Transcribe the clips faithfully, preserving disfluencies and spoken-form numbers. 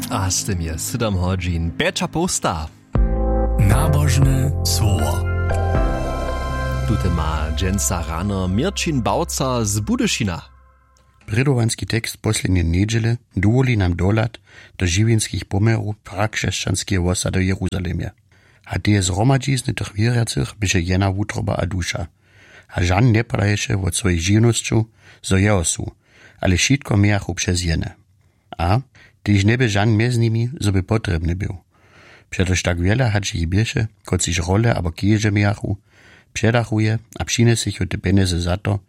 A z tym je sydom hodźin pjeća połsta. Nabožne słowo. Tute ma dźensa rano měrćin bałca z budyšina. Prědowanski tekst poslednje njedźele dowoli nam dohlad do žiwjenskich poměrow prakřesćanskeje wosady w jeruzalemje. A teje zhromadźizny tych wěrjacych běše jena wutroba a duša. A žan njepadaješe wot swojich žiwnosćow, zo jeho su, ale wšitko mějachu přez jene. A tež njebě žan mjez nimi, zo by potrjebny był. Přetož tak wjele hač jich běše, kotřiž role abo keže mějachu, předachu je a přinjesechu te pjenjezy za to,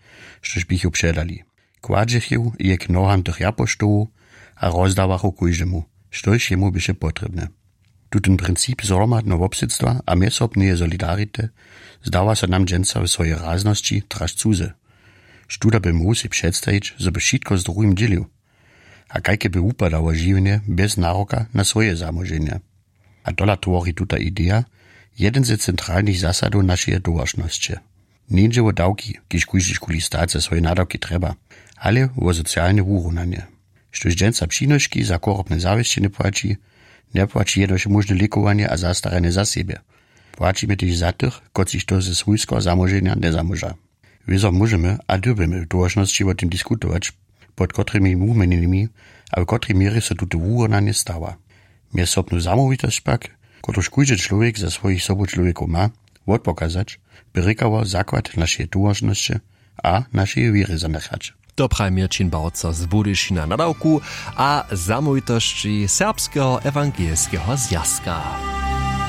štož běchu předali. Kładźechu je k noham tych japoštołow a rozdawachu kóždemu, štož jemu běše potrjebne. Tutón princip zhromadneho wobsydstwa a mjezsobneje solidarity zdawa so nam dźensa w swojej raznosći traž cuzy. Štó da by móhł sej předstajić, zo by wšitko z druhim dźělił? A kajke by wupadało žiwjenje bjez naroka na swoje zamóženje? A tola twori tuta ideja jedyn ze centralnych zasadow našeje towaršnosće. Njeńdźe wo dawki, kiž kóždy škuli stać za swoje nadawki trjeba, ale wo socialne wuhonanje. Štož dźensa přinoški za chorobne zawěsće njepłaći, njepłaći jenož móžne lěkowanje a zastaranje za sebje. Płaćimy tež za tych, kotřiž to ze swójskeho zamóženja njezamóža. Wězo móžemy a dyrbimy w towaršnosći wo tym diskutować, pod kotrymi wuměnjenjemi a w kotrej měrje so tute wuhonanje stawa. Mjezsobnu zamołwitosć pak, kotruž kóždy čłowjek za swojich sobučłowjekow ma, wotpokazać, by rěkało zakład našeje towaršnosće a našeje wěry zanjechać. To praji měrćin bałca z budyšina nadawku a zamołwitosći serbskeho ewangelskeho zwjazka.